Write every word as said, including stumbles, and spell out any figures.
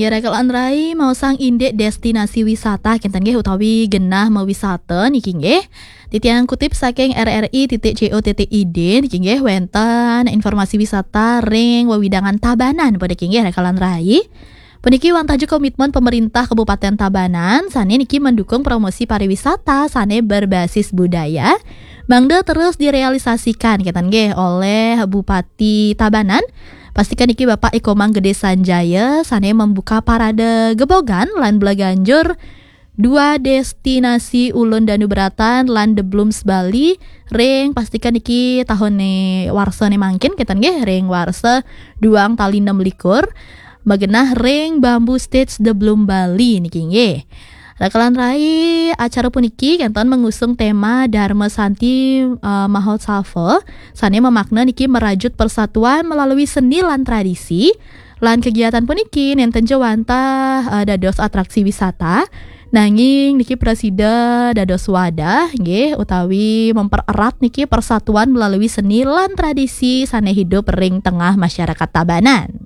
Ya, Raka lan Rai, maosang indik destinasi wisata kenten nggih utawi genah mawisata niki nggih. Titiang kutip saking R R I titik C O titik I D niki nggih, wenten informasi wisata ring wewidangan Tabanan puniki nggih, Raka lan Rai. Puniki wantah juga komitmen pemerintah Kabupaten Tabanan sane niki mendukung promosi pariwisata sane berbasis budaya mangda terus direalisasikan kenten nggih oleh Bupati Tabanan. Pastikan niki Bapak Ikomang Gede Sanjaya sane membuka parade gebogan lan belaganjur dua destinasi Ulun Danu Beratan lan The Blooms Bali ring, pastikan niki tahun ne warsa ne mangkin kenten nggih, ring warsa duang tali enam likur, magenah ring Bamboo Stage The Bloom Bali niki nggih. Raka lan Rai, acara puniki kenten mengusung tema Dharma Santi eh, Mahotsava sane memakna niki merajut persatuan melalui seni lan tradisi. Lan kegiatan puniki nenten ja wantah eh, dados atraksi wisata, nanging niki prasida dados wadah nggih utawi mempererat niki persatuan melalui seni lan tradisi sane hidup ring tengah masyarakat Tabanan.